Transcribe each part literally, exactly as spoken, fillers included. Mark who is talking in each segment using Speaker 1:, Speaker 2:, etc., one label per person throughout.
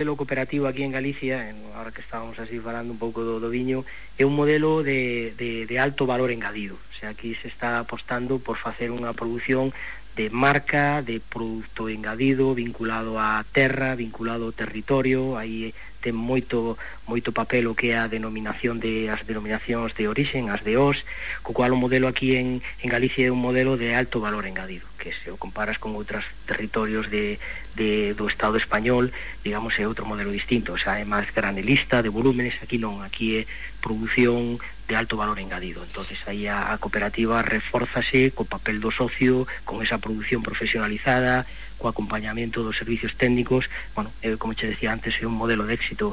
Speaker 1: modelo cooperativo aquí en Galicia, ahora que estábamos así falando un pouco do, do viño, é un modelo de, de, de alto valor engadido. O sea, aquí se está apostando por facer unha produción de marca, de produto engadido, vinculado á terra, vinculado ao territorio. Aí ten moito moito papel o que é a denominación de as denominacións de orixen, as de os, co cual o modelo aquí en, en Galicia é un modelo de alto valor engadido, que se o comparas con outros territorios de, de, do Estado español, digamos, é outro modelo distinto. O sea, é máis granelista, de volúmenes. Aquí non, aquí é produción de alto valor engadido. Entonces aí a, a cooperativa refórzase co papel do socio, con esa produción profesionalizada, co acompañamento dos servicios técnicos. Bueno, eh, como che decía antes, é un modelo de éxito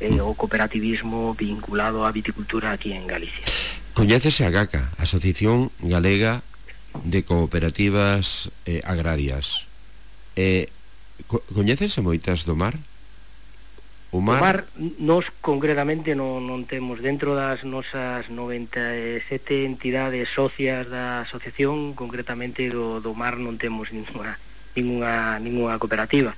Speaker 1: eh, o cooperativismo vinculado á viticultura aquí en Galicia.
Speaker 2: Coñécese a GACA, Asociación Galega de Cooperativas eh, Agrarias. Eh, co coñécese moitas do mar? O mar,
Speaker 1: o mar nos concretamente non, non temos dentro das nosas noventa e sete entidades socias da asociación, concretamente do, do mar non temos ninguna ninguna, ninguna cooperativa.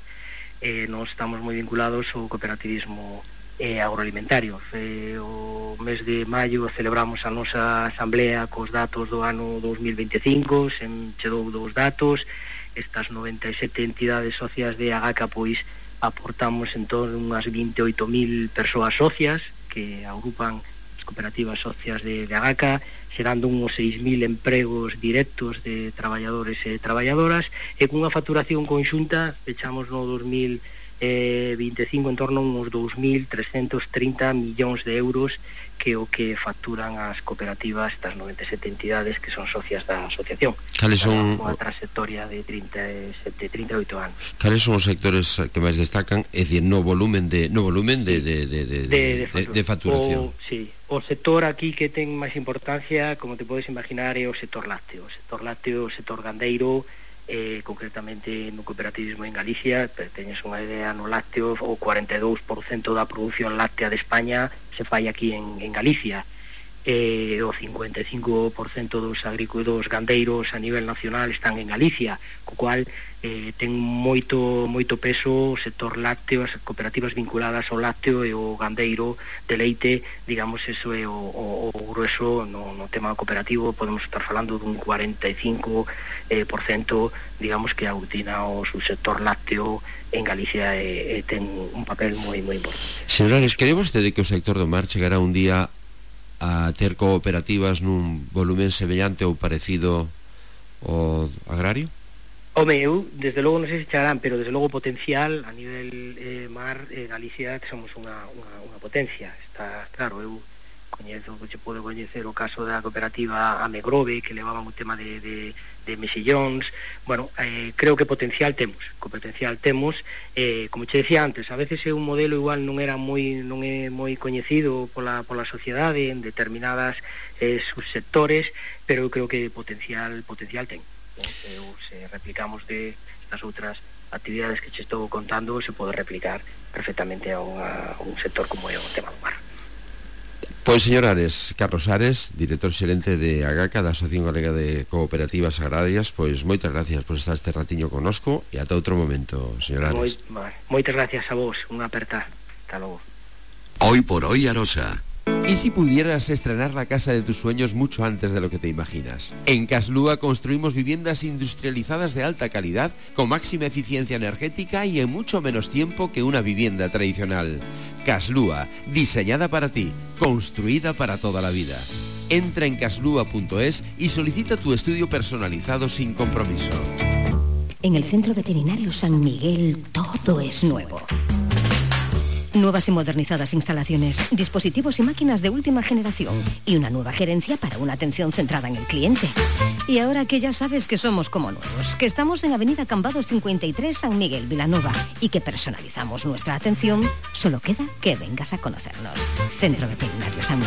Speaker 1: Eh, nos estamos moi vinculados ao cooperativismo eh, agroalimentario. Eh, o mes de maio celebramos a nosa asamblea cos datos do ano dos mil veinticinco, se chegou dos datos. Estas noventa e sete entidades socias de AGACA pois aportamos en torno unhas vinte e oito mil persoas socias que agrupan as cooperativas socias de, de AGACA, xerando uns seis mil empregos directos de traballadores e traballadoras, e cunha facturación conxunta fechamos no dos mil vinte e cinco en torno a uns dous mil trescentos trinta millóns de euros, que o que facturan as cooperativas, estas noventa e sete entidades que son socias da asociación.
Speaker 2: Cales son
Speaker 1: unha trayectoria de trinta e sete, trinta e oito anos.
Speaker 2: Cales son os sectores que máis destacan, é dicir, no volumen de no volumen de de de de, de, de, de facturación?
Speaker 1: O, sí, o sector aquí que ten máis importancia, como te podes imaginar, é o sector lácteo. O sector lácteo, o sector gandeiro, eh, concretamente no cooperativismo en Galicia, teñes unha idea, no lácteo o cuarenta e dous por cento da produción láctea de España se fai aquí en, en Galicia. Eh, o cincuenta e cinco por cento dos agricultores gandeiros a nivel nacional están en Galicia, co cual eh, ten moito moito peso o sector lácteo, as cooperativas vinculadas ao lácteo e o gandeiro de leite, digamos, eso é o, o, o grueso no, no tema cooperativo. Podemos estar falando dun cuarenta e cinco por cento, digamos, que aglutina o sector lácteo en Galicia e, e ten un papel moi moi importante.
Speaker 2: Señores, cree vostede que o sector do mar chegará un día a ter cooperativas nun volumen semellante ou parecido ao agrario?
Speaker 1: Home, eu, desde logo, non sei se chegarán, pero desde logo potencial a nivel eh, mar, eh, Galicia somos unha, unha, unha potencia. Está claro, eu coñezo, que podo coñecer o caso da cooperativa Amegrove, que levaban o tema de, de, de mexillóns. Bueno, eh, creo que potencial temos, co potencial temos, eh, como che decía antes, a veces é un modelo igual non era moi non é moi coñecido pola, pola sociedade en determinadas eh, subsectores, pero eu creo que potencial potencial ten. Eh, ou se replicamos de estas outras actividades que che estou contando, se pode replicar perfectamente a, unha, a un sector como é o tema do mar.
Speaker 2: Pois, señor Ares, Carlos Ares, director xerente de AGACA, da Asociación Galega de Cooperativas Agrarias, pois moitas gracias por estar este ratiño conosco e ata outro momento, señor Ares.
Speaker 1: Moi, moitas gracias a vos, unha aperta. Hasta logo.
Speaker 3: Hoy por hoy, Arosa.
Speaker 2: ¿Y si pudieras estrenar la casa de tus sueños mucho antes de lo que te imaginas? En Caslúa construimos viviendas industrializadas de alta calidad, con máxima eficiencia energética y en mucho menos tiempo que una vivienda tradicional. Caslúa, diseñada para ti, construida para toda la vida. Entra en caslúa punto es y solicita tu estudio personalizado sin compromiso.
Speaker 4: En el Centro Veterinario San Miguel todo es nuevo. Nuevas y modernizadas instalaciones, dispositivos y máquinas de última generación y una nueva gerencia para una atención centrada en el cliente. Y ahora que ya sabes que somos como nuevos, que estamos en Avenida Cambados cincuenta y tres, San Miguel, Vilanova, y que personalizamos nuestra atención, solo queda que vengas a conocernos. Centro Veterinario San Miguel.